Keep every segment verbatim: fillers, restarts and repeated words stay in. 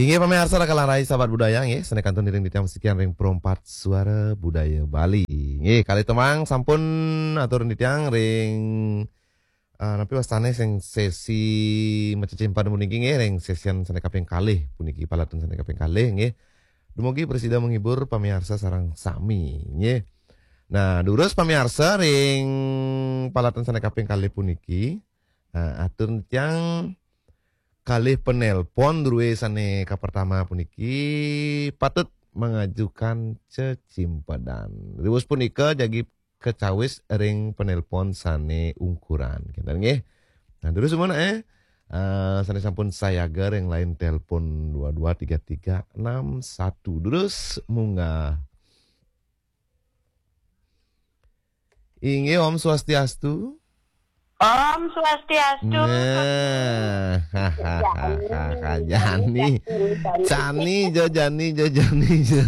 Inggih pamiarsa, raka lan rai sahabat budaya nggih, sané kantun ring titiang sekian ring Perempat Suara Budaya Bali. Nggih, kalih tembang sampun atur titiang ring eh, napi wastané sing sesi macecimpan puniki nggih, ring sesian sané kaping kalih puniki, palaton sané kaping kalih nggih. Dumugi prasida menghibur pamiarsa sareng sami nggih. Nah, durus pamiarsa ring palaton sané kaping kalih puniki, eh, atur titiang kalih penelpon drué sané kapertama puniki patut mengajukan cecimpedan. Riwus punika jagi kacawis ring penelpon sané ungkuran. Kénten nggih. Nah, durus sumenek eh, eh, sané sampun sayaga ring line telepon dua dua tiga tiga enam satu. Durus munggah. Inggih, Om Swastiastu. Om Swastiastu. Nah, Jani. Jani jo, Jani jo, Jani jo.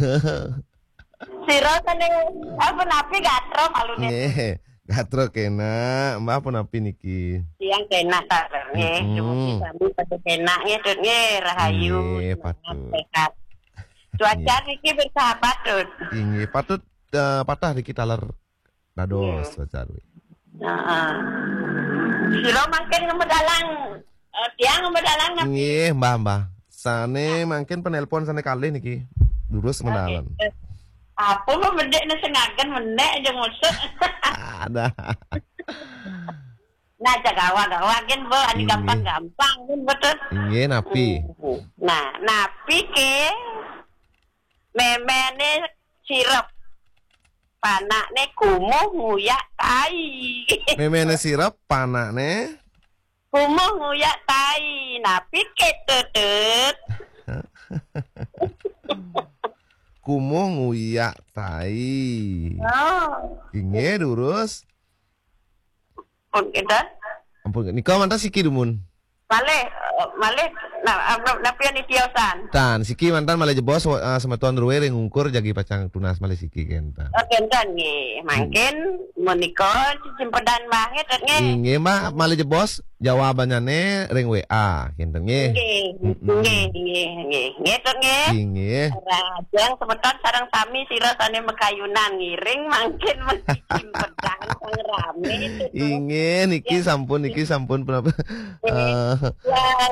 Sira sané apa napi gatra maluné? Nggih, gatra kénak. Mbah punapi niki? Tiang kénak ta, nggih. Mm-mm. Dumugi sami pada kénak nggih, Tut nggih, rahayu. Nggih, semangat, patut. Sehat. Cuaca nggih niki bersahabat, Tut. Inggih, patut eh, patah niki taler dados. Nggih. Pacarwi. Heeh. Sira mangkin ngemedalang, eh, tiang ngemedalang napi? Nggih, Mbah, Mbah. Sané mangkin penelpon sané kalih niki. Durus medalan. Apa mah bedek né sengagen mendek aja ngusuk. Ada. Nah, cak gawa-gawa gen, Bu, adi. Inggih. Gampang-gampang gen, betul. Inggih, napi? Hmm. Nah, napi ke méméné sirep, panakné kumuh nguyak tai. Méméné sirep, panakné kumuh nguyak tai. Napi ke, Tutut? Kumuh nguyak tai. Oh. Inggih, durus. Pun kinten. Ampun, nika mantan siki dumun. Malih, eh, malih, nah, apa, napi yang ditiosan? Tan, siki mantan malih jebos, eh, semeton drué ring ungkur jagi pacang tunas malih siki kénten. Oh, kinten nggih. Mangkin menika cicimpedan Mbah nggih, Tut nggih. Inggih, Mbah, malih jebos jawabannya ring W A, kinten nggih. Nggih, mm-mm, nggih, nggih, nggih. Nggih, Tut nggih. Inggih. Rajang semeton sareng sami sira sané makayunan ngiring mangkin menika cicimpedan sang ramé, Tut. Inggih, niki, ya, sampun, niki sampun penapa? Nggih. Eh. Ya,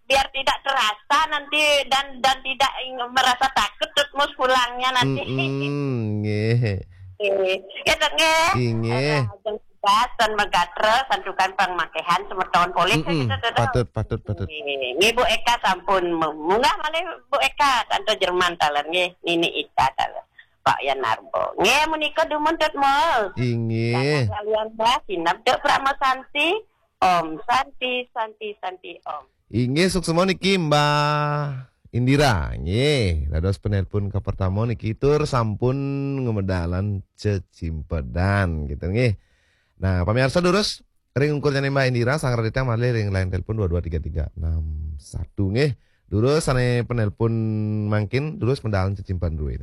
biar tidak terasa nanti dan, dan tidak ing-, merasa takut, Tut, mus pulangnya nanti. Mm-mm, nggih. Nggih. Ya, Tut, nggih. Inggih. Rajang tugas dan megatra santukan pangmakéhan semeton polih, mm-mm, kita, Tut. Patut, patut, patut. Nggih. Nggih, Bu Eka sampun mu-, munggah malih Bu Eka, Tante Jerman taler nggih, Nini Ika taler. Pak Yan Narbo. Nggih, menika dumun, Tut, mus. Inggih. Kakang kalian, Mbah, sineb, Tut, Prama Santi. Om Santi, Santi, Santi, Om. Inggih, suksma niki Mbah Indira. Nggih, dados penelpon kapertama niki tur sampun ngemedalan cecimpedan gitu nggih. Nah, pamiarsa durus ring ungkurnya Mbah Indira, sang raditang malih ring line telepon dua dua tiga tiga enam satu nggih. Durus sané penelpon mangkin, durus medalan cecimpedan drué.